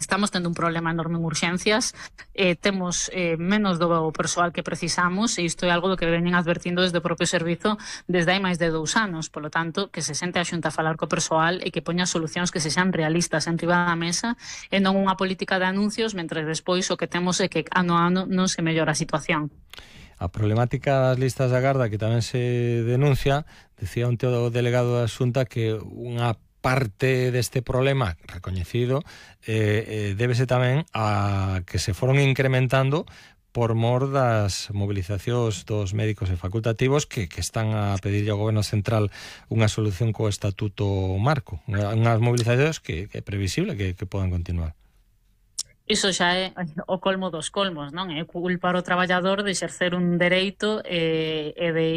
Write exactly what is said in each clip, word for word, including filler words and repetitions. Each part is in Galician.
Estamos tendo un problema enorme en urxencias, eh, temos eh, menos do persoal que precisamos e isto é algo do que veñen advertindo desde o propio servizo desde hai máis de dous anos. Polo tanto, que se sente a Xunta a falar co persoal e que poña solucións que se xan realistas en riba da mesa e non unha política de anuncios, mentre despois o que temos é que ano a ano non se mellora a situación. A problemática das listas de agarda que tamén se denuncia, decía un teo delegado da Xunta que unha parte deste problema recoñecido eh, eh, débese tamén a que se foron incrementando por mor das mobilizacións dos médicos e facultativos que, que están a pedirlle ao Goberno Central unha solución co Estatuto Marco, unhas mobilizacións que, que é previsible que, que podan continuar. Iso xa é o colmo dos colmos, non? É culpar o traballador de exercer un dereito e, e de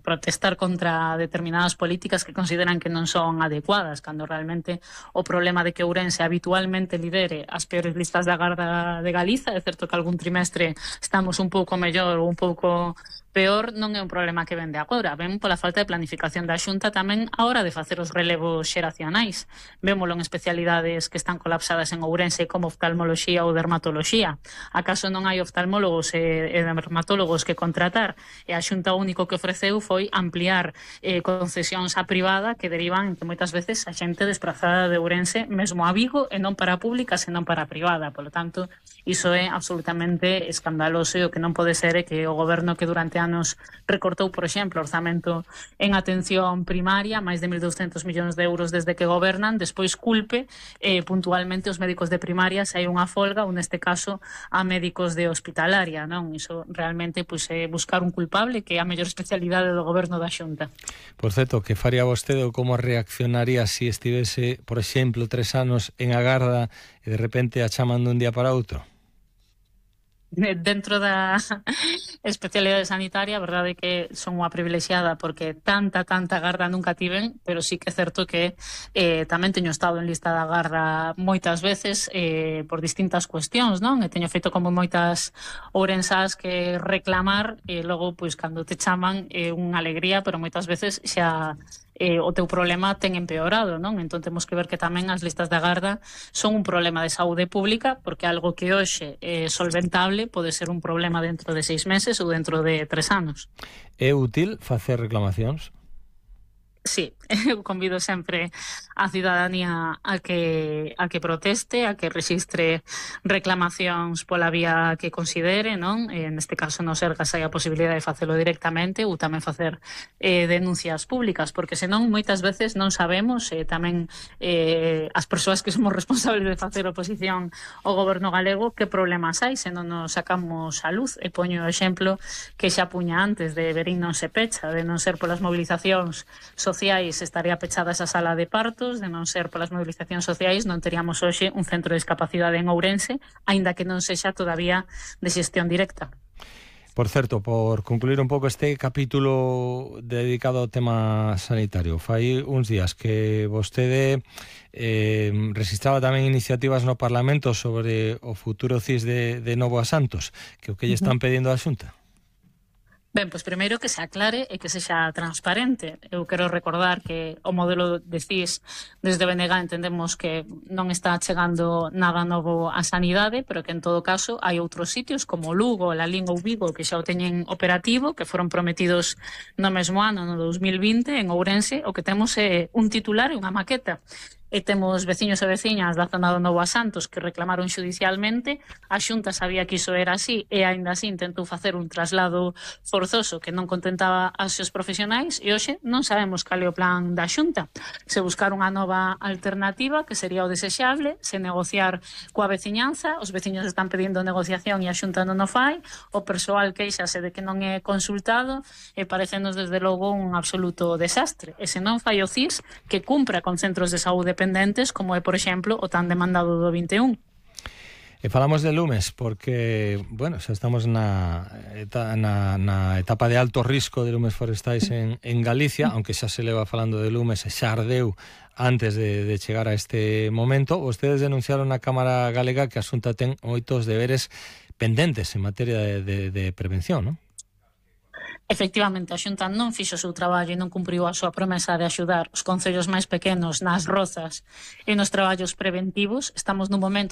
protestar contra determinadas políticas que consideran que non son adecuadas, cando realmente o problema de que Ourense habitualmente lidere as peores listas de agarda de Galiza, é certo que algún trimestre estamos un pouco mellor ou un pouco peor, non é un problema que vende agora, ven pola falta de planificación da Xunta tamén a hora de facer os relevos xeracionais. Vémolo en especialidades que están colapsadas en Ourense como oftalmoloxía ou dermatoloxía. Acaso non hai oftalmólogos e, e dermatólogos que contratar? E a Xunta o único que ofreceu foi ampliar eh, concesións a privada que derivan en que moitas veces a xente desplazada de Ourense mesmo a Vigo e non para a pública, senón para a privada. Por lo tanto, iso é absolutamente escandaloso e o que non pode ser é que o goberno que durante anos recortou, por exemplo, orzamento en atención primaria, máis de mil douscentos millóns de euros desde que gobernan, despois culpe eh, puntualmente os médicos de primaria se hai unha folga, ou neste caso a médicos de hospitalaria, non? Iso realmente pois, é buscar un culpable que é a mellor especialidade do goberno da Xunta. Por certo, que faría vostede ou como reaccionaría se si estivese, por exemplo, tres anos en agarda e de repente a chaman dun día para outro? Dentro da especialidade sanitaria, a verdade é que son unha privilexiada porque tanta, tanta agarda nunca tiven, pero sí que é certo que eh, tamén teño estado en lista de agarda moitas veces eh, por distintas cuestións, non? E teño feito como moitas ourensás que reclamar e logo, pois, cando te chaman é eh, unha alegría, pero moitas veces xa eh, o teu problema ten empeorado, non? Entón temos que ver que tamén as listas de agarda son un problema de saúde pública porque algo que hoxe é solventable pode ser un problema dentro de seis meses ou dentro de tres anos. É útil facer reclamacións? Sí, eu convido sempre a cidadanía a que a que proteste, a que rexistre reclamacións pola vía que considere, non? E neste caso no Sergas hai a posibilidade de facelo directamente ou tamén facer eh, denuncias públicas, porque senón moitas veces non sabemos, e eh, tamén eh, as persoas que somos responsables de facer oposición ao goberno galego, que problemas hai se non nos sacamos a luz. E poño o exemplo que xa puña antes de Verín non se pecha, de non ser polas mobilizacións sociais sociais estaría pechada esa sala de partos, de non ser polas movilizacións sociais non teríamos hoxe un centro de discapacidade en Ourense, aínda que non sexa todavía de xestión directa. Por certo, por concluir un pouco este capítulo dedicado ao tema sanitario, fai uns días que vostede eh, registraba tamén iniciativas no Parlamento sobre o futuro C I S de, de Novo a Santos, que o que lle están pedindo á Xunta? Ben, pois primeiro que se aclare e que sexa transparente. Eu quero recordar que o modelo de C I S desde B N G entendemos que non está chegando nada novo á sanidade, pero que en todo caso hai outros sitios como Lugo, Lalín ou Vigo que xa o teñen operativo, que foron prometidos no mesmo ano, no dos mil vinte, en Ourense. O que temos é un titular e unha maqueta. E temos veciños e veciñas da zona do Novo a Santos que reclamaron xudicialmente. A Xunta sabía que iso era así e aínda así intentou facer un traslado forzoso que non contentaba aos seus profesionais e hoxe non sabemos cal é o plan da Xunta. Se buscar unha nova alternativa que sería o desexable, se negociar coa veciñanza, os veciños están pedindo negociación e a Xunta non o fai, o persoal queixase de que non é consultado e parecenos desde logo un absoluto desastre. E se non fai o C I S que cumpra con centros de saúde pendentes, como é, por exemplo, o tan demandado do vinte e un. E falamos de lumes porque, bueno, xa estamos na, na, na etapa de alto risco de lumes forestais en, en Galicia, aunque xa se leva falando de lumes e xa ardeu antes de, de chegar a este momento. Vostedes denunciaron na Cámara Galega que a Xunta ten moitos deberes pendentes en materia de, de, de prevención, non? Efectivamente, a Xunta non fixo o seu traballo e non cumpriu a súa promesa de axudar os concellos máis pequenos nas rozas e nos traballos preventivos. Estamos nun momento